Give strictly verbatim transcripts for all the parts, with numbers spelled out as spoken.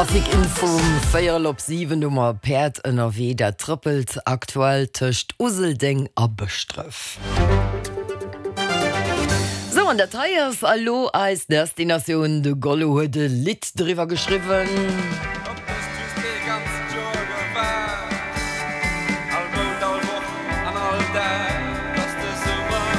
Trafic-Info um véierel op siwen, do mer Päerd ënnerwee, dat trëppelt aktuell tëscht Useldeng a Bëschdref. Sou, an dat hei ass elo eis Destinatioun, de Gollo huet e Lidd driwwer geschriwwen.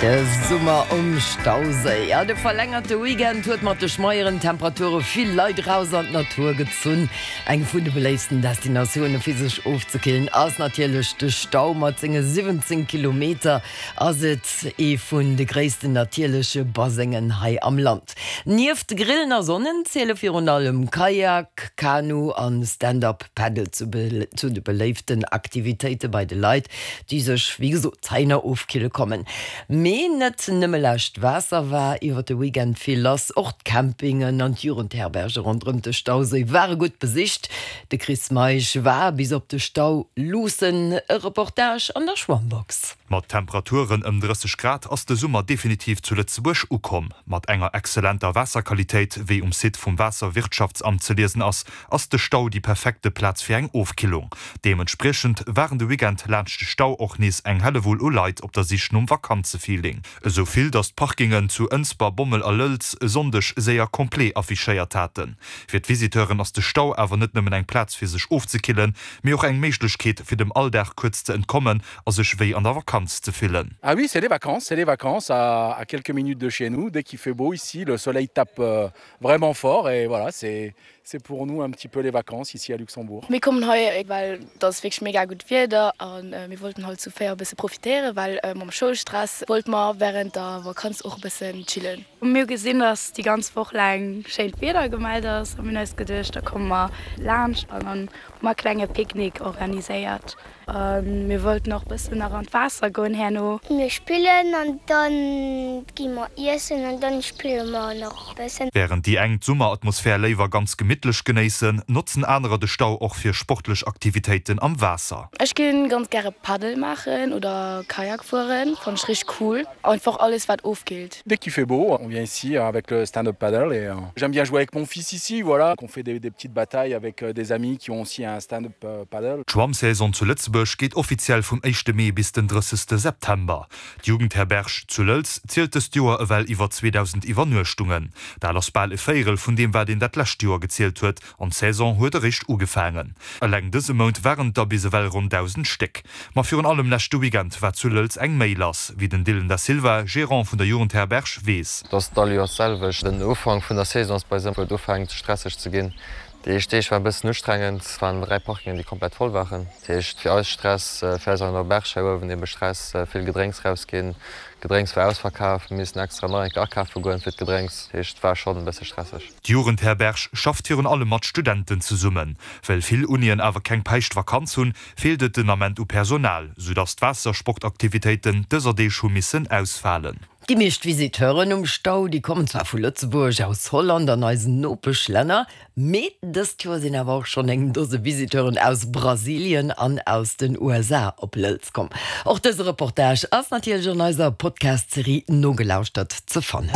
De Summer um Stauséi. Ja, de verlängerte Weekend huet mat de schmeieren Temperature vill Leit eraus an d'Natur gezunn. Eng vun de beléiftsten Destinatioune fir sech ofzekillen ass natierlech de Stau. Mat senge siwwenzéng Kilometer ass et ee vun de gréissten natierleche Basengen hei am Land. Nieft Grillen a Sonnen ziele virun allem Kajak, Kanu an Stand-Up Paddle zu de beléiften Aktivitéite bei de Leit, déi sech wéi gesot heihinner ofkille kommen. Mee net nëmme laascht Waasser war iwwer de Weekend vill lass, och d'Campingen an d'Jugendherberge ronderëm de Stauséi ware gutt besicht. De Chris Meisch war bis op de Stau luussen. E Reportage an der Schwammbox. Mat Temperaturen ëm drësseg Grad ass de Summer definitiv zu Lëtzebuerg ukomm. Mat enger exzellenter Waasserqualitéit, wéi um Site vum Waasserwirtschaftsamt ze liesen ass, ass de Stau déi perfekte Plaz fir eng Ofkillung. Deementspriechend waren de Weekend laanscht de Stau och nees eng Hellewull u Leit op der Sich nom Vakanzefeeling. Esou vill, datt d'Parkingen zu Ënsber, Bommel a Lëlz e Sonndeg séier complet affichéiert haten. Fir d'Visiteuren ass de Stau awer net nëmmen eng Plaz fir sech ofzekillen, mee och eng Méiglechkeet fir dem Alldag kuerz ze entkommen a sech wéi an der Vakanz ze fillen. Ah oui, c'est les vacances, c'est les vacances à, à quelques minutes de chez nous. Dès qu'il fait beau ici, le soleil tape euh, vraiment fort et voilà, c'est c'est pour nous un petit peu les vacances ici à Luxembourg. Mir kommen hei well et ass wierklech mega gutt Wieder a mir wollten halt zu véier e bësse profitéieren, well mam Schoulstress wollte mer wärend der Vakanz och e bëssen chillen. Mir hu gesinn, dass déi ganz Woch laang schéint Wieder gemellt ass a mir hunn eis geduecht, da komme mer laanscht an dann hu mer e klenge Picknick organiséiert. A mir wollten och bëssen nach an d'Waasser goen herno. Mir spillen an dann gi mer iessen an dann spille mer nach bëssen. Wärend déi eng d'Summeratmosphär léiwer ganz gemittlech genéissen, notzen anerer de Stau och fir sportlech Aktivitéiten am Waasser. Ech ginn ganz gäre Paddel maachen oder Kajak fueren, fannen ech richteg cool. Einfach alles wat ofkillt. Dès qu'il fait beau, on vient ici avec le stand-up paddle et j'aime bien jouer avec mon fils ici, voilà, qu'on fait des, des petites batailles avec des amis qui ont aussi un stand-up paddle. D'Schwammsaison zu Lëtzebuerg geet offiziell vum éischte Mee bis den drëssegste September. D'Jugendherberg zu Lëlz zielt dëst Joer ewell iwwer zweedausend Iwwernuechtungen. Dat ass bal e Véierel vun deem, wat een dat lescht Joer gezielt huet, an d'Saison huet eréischt ugefaangen. Eleng dëse Mount waren et der bis ewell ronn dausend Stéck. Ma virun allem leschte Weekend war zu Lëlz eng Méi lass, wéi den Dylan Da Silva, Gerant vun der Jugendherberg, weess. Et ass all Joers d'selwecht. Den Ufank vun der Saison ass bei eis ëmmer, wou et ufänkt stresseg ze ginn. Déi éischt Deeg waren e bëssen ustrengend, et waren dräi Parkingen, déi komplett voll waren. Dat heescht fir eis Stress, fir eis an der Auberge hei uewen ebe Stress, vill Gedrénks rausginn, Gedrénks war ausverkaf, mir missen extra nach eng Kéier akafe goen fir d'Gedrénks. Dat heescht et war schonn e bësse stresseg. D'Jugendherberg schafft virun allem mat Studenten zesummen. Well vill Unien awer keng Päischtvakanz hunn, feelt et den Ament u Personal, soudass d'Waassersportaktivitéiten dëser Deeg hu missen ausfalen. Déi meescht Visiteuren um Stau, déi kommen zwar vu Lëtzebuerg, aus Holland an eisen Nopeschlänner, mee dëst Joer sinn awer och schonn eng Dose Visiteuren aus Brasilien an aus den U S A op Lëlz komm. Och dëse Reportage ass natierlech an eiser Podcast-Serie Nogelauschtert ze fannen.